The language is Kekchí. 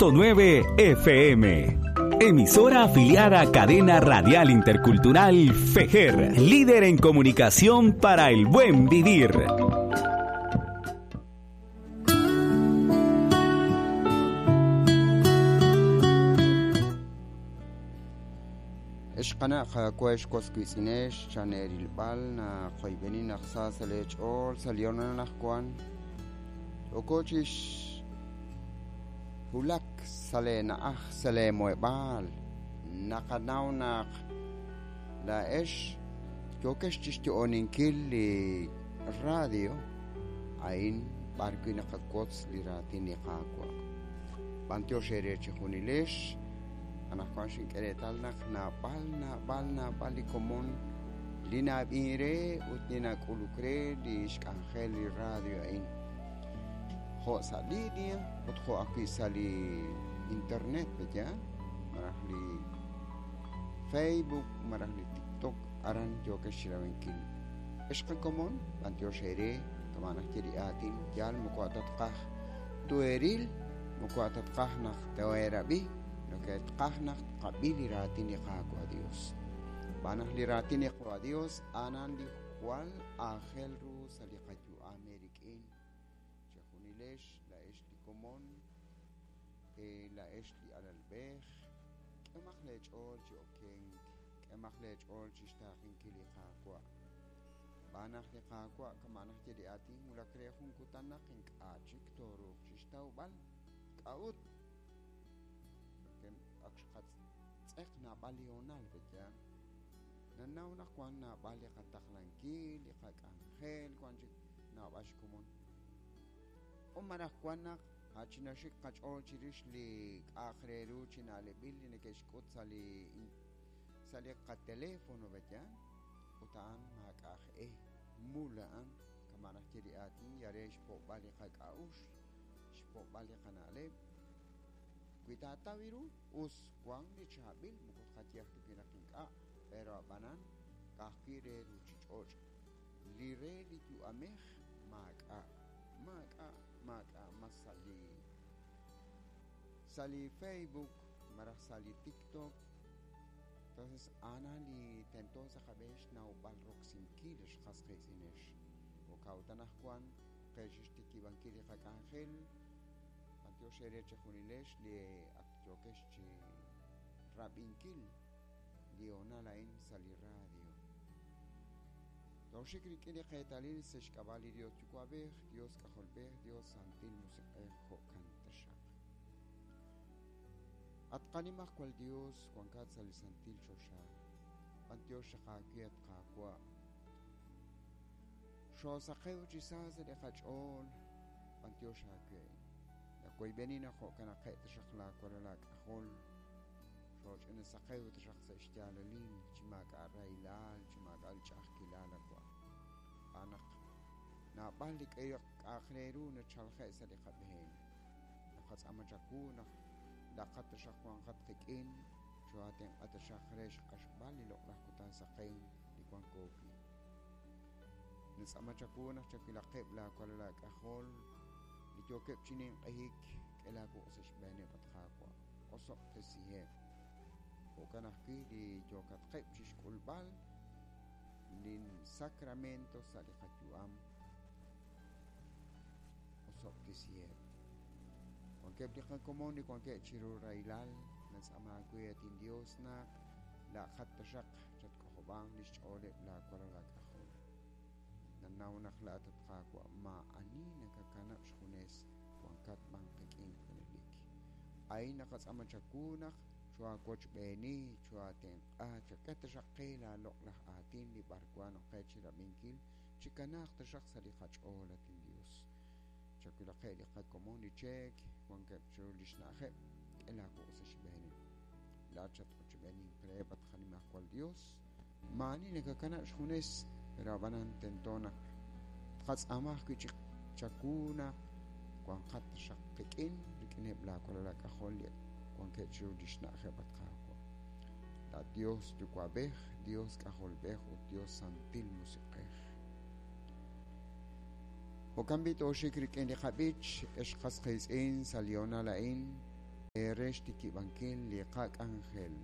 9 FM. Emisora afiliada a Cadena Radial Intercultural FEJER, líder en comunicación para el buen vivir. Ex qana' qaawa' ex was wiitz'inex chaneerilb'al naqoyb'eni naq sa sa' lee ch'ool sa' li hoonal anaqwan yooko chix wulak sa' lee na'aj sa' lee muheb'aal naqanaw naq laa'ex yookex chixyo'oninkil li radio a'in b'ar wi' naqawotz li raatin li Qaawa'. B'antiox eere chejunilex. Anaqwan xink'e reetal naq naab'al, naab'al, naab'al li komon li na'ab'in re ut li nak'uluk re li xk'anjel li radio a'in. Jo' sa' línea ut jo' ajwi' sa' li internet, pe'yaal? Malaj li Facebook, malaj li TikTok, aran yookex chirabinkil. Ex qakomon, b'antiox eere, kama' naxye li aatin, yaal moko atatqaj tueril, moko atatqaj naq toerab'i, Tqaj naq tqab'i li raatin li Qaawa' Dios. Xb'aan naq li raatin li Qaawa' Dios a'anan li jwal aajel ru sa' li qayu'am eerik'in. Chejunilex laa'ex li komon, laa'ex li alalb'ej, k'ehomaq lee ch'ool chi okenk, k'ehomaq lee ch'ool chixtaaqenkil li Qaawa'. Xb'aan naq li Qaawa' kama' naxye li aatin wulak re jun kutan naq ink'a' chik tooruuq chixtawb'al. K'a'ut? Ak xqatz'eq naab'al li hoonal, pe'yaal? Nannaw naq wan naab'al li qataqlankil, li qak'anjel, wan chik naab'al xkomon. O malaj wan naq chinaxik qach'ool chirix li k'a'aq re ru chi na'leb'il li neke'xk'ut sa' li sa' li qatelefono, pe'yaal? Ut a'an maak'a' aj-e, mul a'an, kama' naxye li aatin, yal re xpo'b'al li qak'a'uxl, xpo'b'al li qana'leb'. Wi taataw ru, us wank li chaab'il, moko tqaye ajwi' naq ink'a', pero ab'anan ka'ajwi' re ruuchich'och'. Li re li yu'amej maak'a', maak'a', maak'a' mas sa' li sa' li Facebook malaj sa' li TikTok. Entonces a'anan li tento sa' qab'een xnawb'al roksinkil ex qas qiitz'inex. Jo'kan ut anaqwan qe xixtikib'ankil li qak'anjel. B'antiox eere chejunilex li ak yookex chi rab'inkil li hoonal a'in sa' li radio. Tooxik rik'in li qeetalil sa' xk'ab'a' li Dios Yuwa'b'ej, Dios K'ajolb'ej, Dios Santil Musiq'ej, jo'kan taxaq. At qanimajwal Dios, wankat sa' li santil choxa. B'antiox xaq aawe, at Qaawa'. Xoosaqew chi sa sa' li qach'ool. B'antiox aawe. Nawoyb'eni naq jo'kanaqeb' taxaq laawalal aak'ajol, xooch'ina saqew taxaq sa' xyaalalil, chi maak'a' rahilal, chi maak'a' li ch'a'ajkilal awa'. Xb'aan naq naab'al li k'a'aq re ru nachalje' sa' li qab'een. Naqatz'aama chawu naq laqat taxaq wanqat qik'in, choohaatenq'a taxaq re xq'axb'al li loq'laj kutan saqenk li wanko wi'. Nintz'aama chawu naq chawilaqeb' laawalal aak'ajol li yookeb' chi ninq'ehik, k'e laawuq' sa' xb'eeneb', at Qaawa', osob'tesiheb'. Jo'kan ajwi' li yookatqeb' chi xk'ulb'al lin sacramento sa' li qayu'am, osob'tesiheb'. Wankeb' li qakomon li wankeb' chiru rahilal, nintz'aama aawe, at inDios, naq laa'qat taxaq chatk'ojob'anq lix ch'ooleb' laawalal aak'ajol. Nannaw naq laa'at, at Qaawa', maa'ani nakakanab' xjunes, wankat b'an qik'in junelik. A'in naqatz'aama chawu naq choohaawochb'eeni, choohaatenq'a, chak'e taxaq qe laaloq'laj aatin li b'arwan ok qe chirab'inkil, chikanaaq taxaq sa' li qach'ool, at inDios. Chawilaqeb' li qakomon li cheek wankeb' chiru lix na'ajeb', k'e laawuq' sa' xb'eeneb'. Laa'at xat'ochb'eenink reheb', at qanimajwal Dios. Maa'ani nakakanab' xjunes, pero ab'anan tento naq tqatz'aama ajwi' chi chawu naq wanqat taxaq qik'in rik'ineb' laawalal aak'ajol li wankeb' chiru lix na'ajeb', at Qaawa'. Laa'at Dios Yuwa'b'ej, Dios K'ajolb'ej ut Dios Santil Musiq'ej. Jo'kan b'i' tooxik rik'in li qab'ich, ex qas qiitz'in sa' li hoonal a'in. re xtikib'ankil li qak'anjel.